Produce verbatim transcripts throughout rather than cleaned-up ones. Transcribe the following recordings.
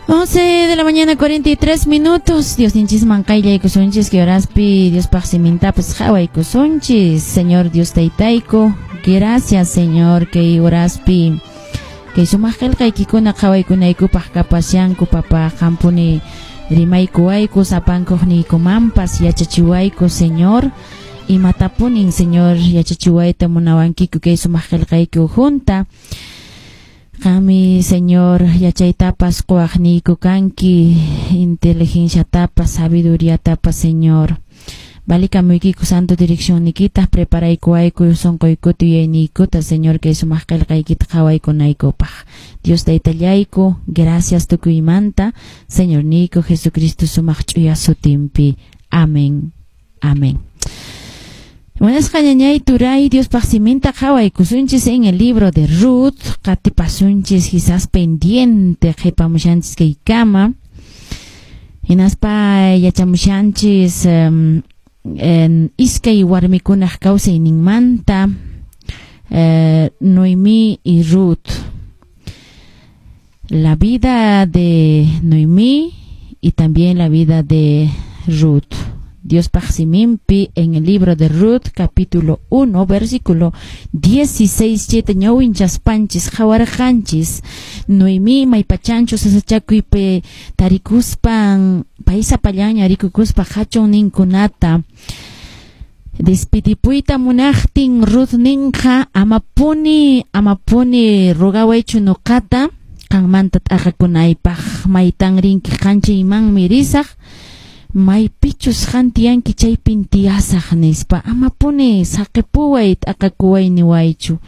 once de la mañana, cuarenta y tres minutos. Diosninchisman qayllaykusunchis, kay horaspi Diospaq simintapas qhawaykusunchis. Señor Dios Taytayku, gracias, Señor, kay horaspi kay sumaq qillqaykikuna qhawaykunaykupaq kapashanku, papá, qampuni rimaykuwayku, sapankuqniykumanpas yachachiwayku, Señor. Imatapunin, Señor, yachachiwayta munawankiku kay sumaq qillqayki ukhunta. Qanmi, Señor, yachaytapas quwaqniyku kanki, inteligenciatapas, sabiduriatapas, Señor. Valikamuykiku santo direccionnikita, preparaykuwayku sunquykuta, yuyayniykuta, Señor, kay sumaq qillqaykita qhawaykunaykupaq. Dios Taytallayku, gracias tukuymanta, Señorniyku Jesucristo sumaq ch'uya sutinpi. Amén. Amén. Munasqa ñañay, turay, Diospaq siminta qhawaykusunchis en el libro de Ruth, qatipasunchis quizás pendiente qhipamushanchis kaykama. Hinaspa yachamushanchis um, en iskay warmikunaq kawsayninmanta, eh, Noemí y Ruth. La vida de Noemí y también la vida de Ruth. Diospaq siminpi en el libro de Ruth, capítulo uno, versículo dieciséis, chayta ñawinchaspanchis, qhawarqanchis. Noemí maypachanchus sasachakuypi tarikuspan, pay sapallanña rikukuspa qhachunninkunata despidipuyta munaqtin, Ruth ninqa: "Amapuni, amapuni rogawaychu nuqata qanmanta t'aqakunaypaq. Maytan rinki qan chaymanmi risaq, maypichus qan tiyanki chaypin tiyasaq", nispa. "Amapuni saqipuway, t'aqakuway niwaychu.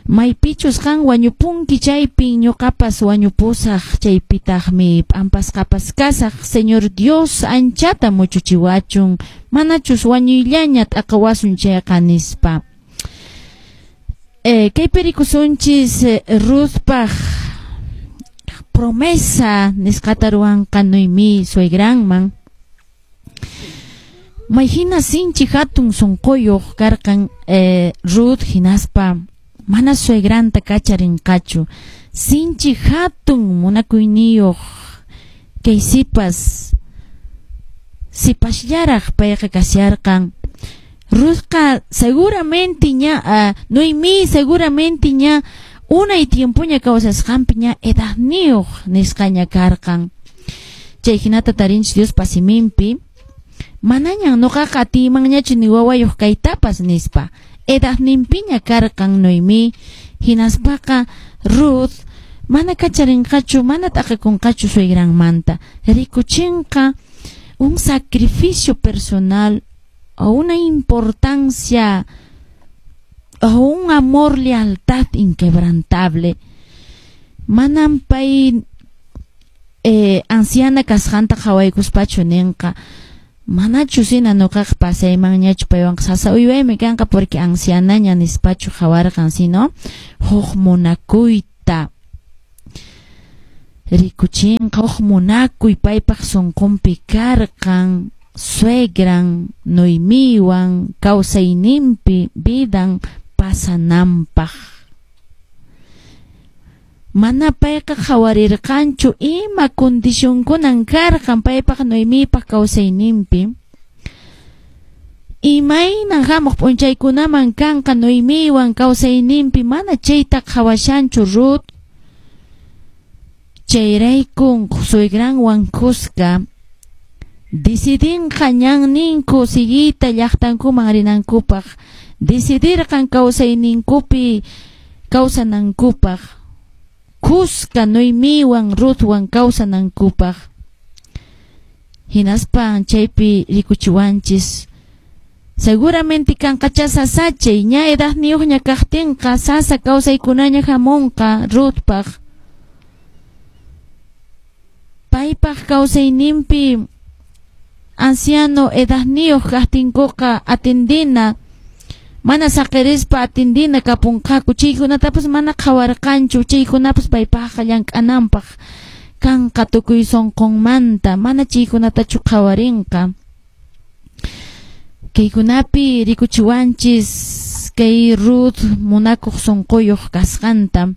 Maypichus qan wañupunki chaypin ñuqapas wañupusaq, chaypitaqmi p'ampasqapas kasaq. Señor Dios anchata muchuchiwachun, manachus wañuyllaña t'aqawasun chayqa", nispa. Eh, kaypi rikusunchis eh, Ruthpaq promesa nisqata ruwanqa Noemí suegranman. Mayhina sinchi hatun sunquyuq karqan eh, Ruth, hinaspa mana suegranta kacharinqachu. Sinchi hatun munakuyniyuq kay sipas, sipasllaraq payqa kasharqan. Ruthqa seguramente ña, uh, Noemí seguramente ña unay tiempoña kawsasqanpi ña edadniyuq nisqaña karqan. Chay hinata tarinchis Diospa siminpi: "Manañan nuqaqa atiymanñachu ni wawayuq kaytapas", nispa. Edadninpiña karqan Noemí, hinaspaqa Ruth mana kacharinqachu, mana t'aqakunqachu suegranmanta. Rikuchinqa un sacrificio personal o una importancia o un amor, lealtad inquebrantable. Manam pay eh, anciana kasqanta qhawaykuspachu ninqa: "Manachus hina nuqaqa pasaymanñachu paywanqa, sasa uywaymi kanqa porque ancianaña", nispachu qhawarqan, sino huk munakuyta rikuchinqa, huk munakuy paypaq sunqunpi karqan suegran Noemiwan kawsayninpi vidan pasananpaq. Mana payqa qhawarirqanchu ima condicionkunan karqan paypaq, Noemipaq kawsayninpi, imaynan hamuq p'unchaykunaman kanqa Noemiwan kawsayninpi, mana chayta qhawashanchu Ruth. Chayraykun suegranwan kuska decidinqa ñanninku siguiyta llaqtankuman rinankupaq, decidirqan kawsayninkupi kawsanankupaq, kuska Noemiwan Ruthwan kawsanankupaq. Hinaspan chaypi rikuchiwanchis seguramente kanqachá sasachay, ña edadniyuqña kaqtinqa sasa kawsaykunaña hamunqa Ruthpaq, paypaq kawsayninpi. Anciano edadniyuq kaqtinkuqa atendina, mana saqirispa atendina kapunqaku, chaykunatapas mana qhawarqanchu. Chaykunapas paypaqqa llank'ananpaq kanqa tukuy sunqunmanta, mana chaykunatachu qhawarinqa. Kaykunapi rikuchiwanchis kay Ruth munakuq sunquyuq kasqanta.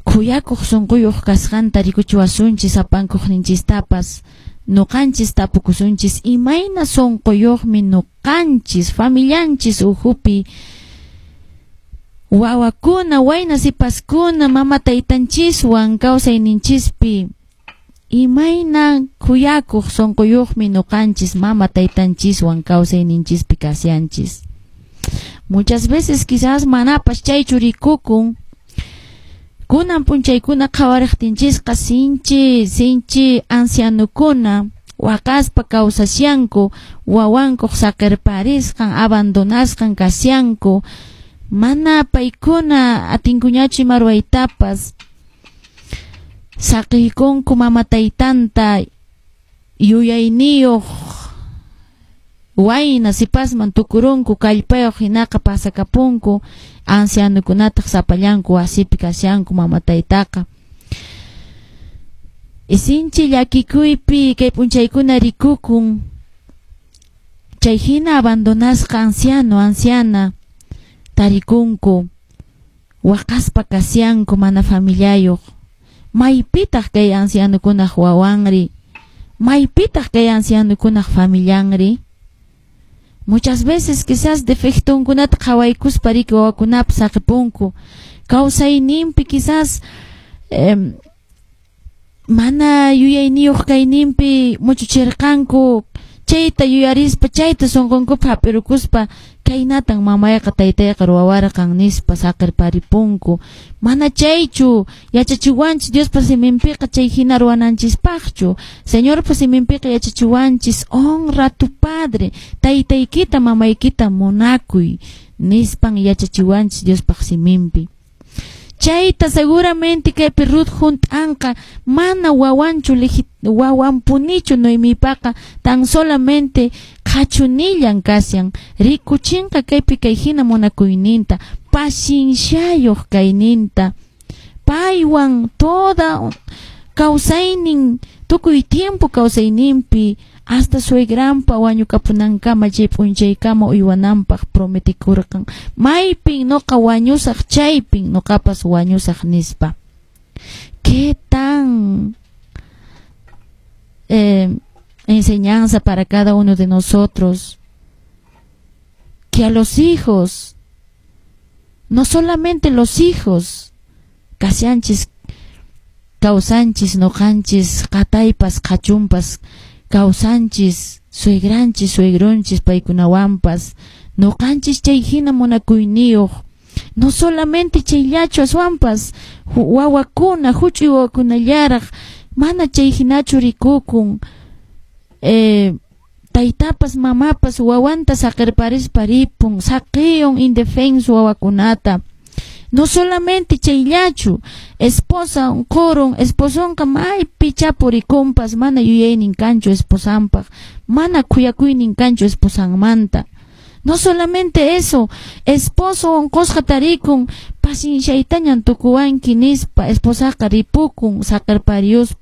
Khuyakuq sunquyuq kasqanta rikuchiwasunchis sapankuqninchistapas. Nuqanchis tapukusunchis imayna sunquyuqmi nuqanchis familianchis uhupi wawakuna, wayna sipaskuna, mama taytanchiswan kawsayninchispi imayna khuyakuq sunquyuqmi nuqanchis mama taytanchiswan kawsayninchispi kasyanchis. Muchas veces quizás manapas chaychu rikukun. Kunan p'unchaykuna qhawariqtinchisqa sinchi sinchi ancianukuna waqaspa kawsasyanku, wawankuq saqirparisqan, abandonasqan kasyanku, mana paykuna atinkuñachu ima ruwaytapas, saqiykunku mama taytanta yuyayniyuq wayna sipasman tukurunku, kallpayuq hinaqa pasakapunku, ancianukunataq sapallanku wasipi kasyanku mama taytaqa. Sinchi llakikuypi kay p'unchaykuna rikukun chay hina abandonasqa anciano, anciana tarikunku, waqaspa kasyanku mana familiayuq. Maypitaq kay ancianukunaq wawanri? Maypitaq kay ancianukunaq familianri? Muchas veces quizás defectunkunata qhawaykuspa riki wawakunapas saqipunku. Kawsayninpi quizás eh, mana yuyayniyuq kayninpi muchuchirqanku, chayta yuyarispa, chayta sunqunkupi hap'irukuspa kaynatan mamayqa taytayqa ruwawarqan nispa saqirparipunku. Mana chaychu yachachiwanchis Diospa siminpiqa chay hina ruwananchispaqchu. Señorpa siminpiqa yachachiwanchis honra a tu padre, taytaykita mamaykita munakuy nispan yachachiwanchis Diospaq siminpi. Chayta seguramente kaypi Ruth hunt'anqa mana wawanchu wawanpunichu Noemipaqa, tan solamente qhachunillan kasyan, rikuchinqa kaypi kay hina munakuyninta, pacienciayuq kayninta, paywan toda kawsaynin tukuy tiempo kawsayninpi hasta suegranpa wañukapunankama chay p'unchaykama uywananpaq prometikurqan, maypin noqa wañusaq chaypin noqapas wañusaq nispa. ¿Qué tan eh, enseñanza para cada uno de nosotros? Que a los hijos, no solamente los hijos, kasyanchis kawsanchis noqanchis qataypas qhachunpas kawsanchis suegranchis suegronchis paykunawanpas noqanchis chay hina munakuyniyuq, no solamente chayllachu aswanpas wawakuna huch'uy wawakunallaraq mana chay hinachu rikukun, eh, taytapas mamapas wawanta saqirparispa ripun, saqiyun indefenso wawakunata. No solamente chayllachu, esposa unqurun, esposonqa maypi chapurikunpas mana yuyaynin kanchu esposanpaq, mana khuyakuynin kanchu esposanmanta. No solamente eso, esposo unqusqa tarikun, pacienciaytañan tukuwanki nispa esposaqa ripukun saqirpariyuspa.